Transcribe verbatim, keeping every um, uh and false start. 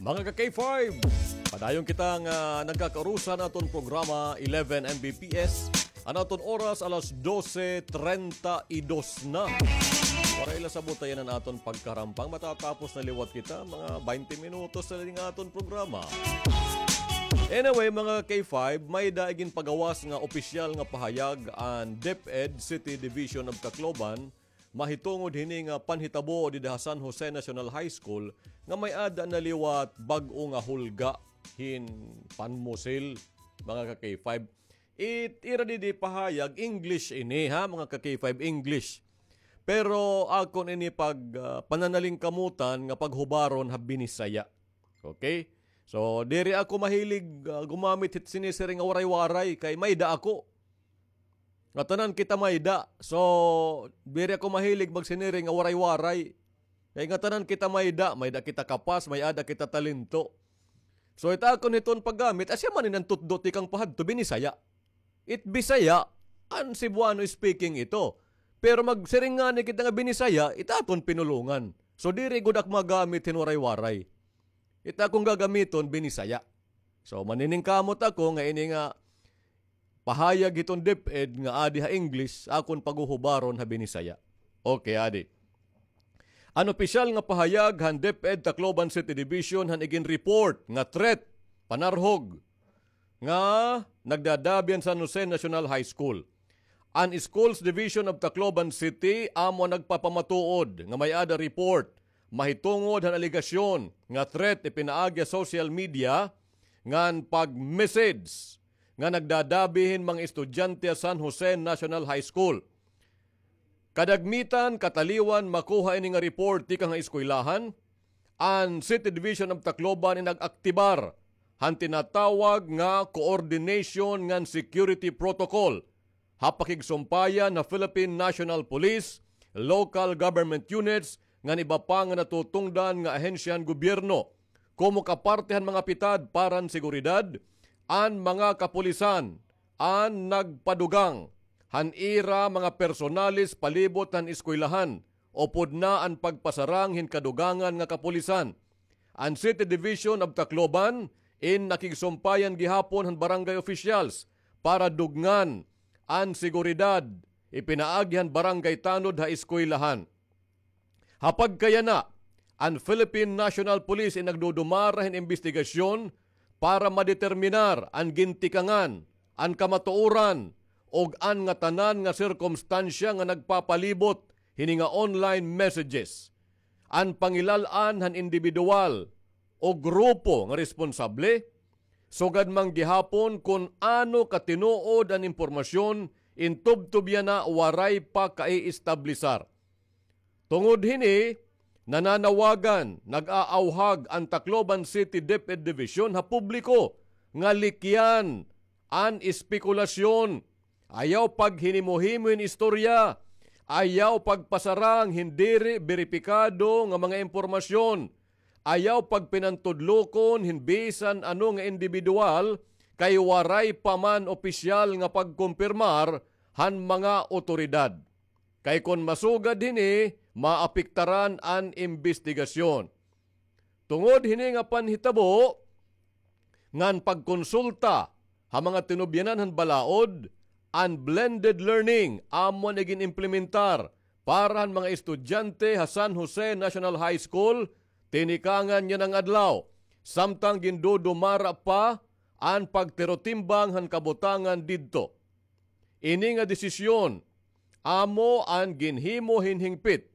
Mga ka-K five, padayon kita nga nagkakaurusan aton programa eleven M B P S. An aton oras alas dose treinta y dos na. Waray la sabot ayan an aton pagkarampang. Matatapos na liwat kita, mga twenty minutos na lang aton programa. Anyway, mga K five, may-ada ginpagawas nga opisyal nga pahayag an DepEd City Division of Tacloban mahitungod hini nga panhitabo dida ha San Jose National High School nga may-ada na liwat bag-o nga hulga hin panmusil, mga ka-K five. It ira didi pahayag, English ini, ha, mga ka-K five, English. Pero akon ini pag, ah, pananalingkamutan nga paghubaron ha Binisaya. Okay? So, diri ako mahilig, ah, gumamit hit sinisiring nga waray-waray kay may-ada ako. Ngatanan kita may-ada. So, diri ako mahilig magsiniring nga waray-waray. Kay ngatanan kita may-ada, may-ada kita kapas, may-ada kita talento. So, it akon hiton paggamit, asya man in an tutdo tikang pahadto, Binisaya. It Bisaya, an Cebuano speaking ito. Pero magsiring ngani kita nga Binisaya, it aton pinulongan. So, diri gud ak magamit hin waray-waray. It akon gagamiton, Binisaya. So, maniningkamot ako nga ini nga pahayag hiton DepEd nga adi ha English, akon paghuhubaron ha Binisaya. Okay, adi. An opisyal nga pahayag han DepEd Tacloban City Division han iginreport nga threat, panarhog, nga nagdadabi han San Jose National High School. An Schools Division of Tacloban City amo an nagpapamatuod nga may-ada report mahitungod han alegasyon nga threat ipinaagi ha social media ngan pag-message nga nagdadabi hin mga estudyante ha San Jose National High School. Kadagmitan, kataliwan makuha ini nga report tikang ha eskwelahan, an City Division of Tacloban in nag-aktibar han tinatawag nga coordination ngan security protocol ha pakigsumpayan ha Philippine National Police, local government units, ngan iba pa nga natutungdan nga ahensya han gobyerno. Komo kaparte han mga pitad para han seguridad, an mga kapulisan an nagpadugang han ira mga personalis palibot han eskwelahan upod na an pagpasarang hin kadugangan nga kapulisan. An City Division of Tacloban in nakigsumpayan gihapon han barangay officials para dugngan an seguridad ipinaagi han barangay tanod ha eskwelahan. Ha pagkayana, an Philippine National Police in nagdudumara hin imbestigasyon para madeterminar an gintikangan, an kamatuoran, ug an ngatanan nga sirkumstansya nga nagpapalibot hini nga online messages. An pangilal-an han indibidwal o grupo nga responsable, sugad man gihapon kon ano katinuod an impormasyon, in tubtob yana waray pa kaiestablisar. Tungod hini, nananawagan, nag-aawhag an Tacloban City DepEd Division ha publiko nga likyan an espekulasyon. Ayaw paghinimo-himo hin istorya. Ayaw pagpasarang hin diri beripikado nga mga impormasyon. Ayaw pagpinantudlokon hin bisan ano nga indibidwal kay waray pa man opisyal nga pagkumpirmar han mga awtoridad. Kay kon masugad hini, maapektaran an imbestigasyon. Tungod hini nga panhitabo, ngan pagkonsulta ha mga tinubyanan han balaod, an blended learning amo an igin-implementar para han mga estudyante ha San Jose National High School, tinikangan yana nga adlaw, samtang gindudumara pa an pagtirotimbang han kabutangan didto. Ini nga desisyon amo an ginhimo hin hingpit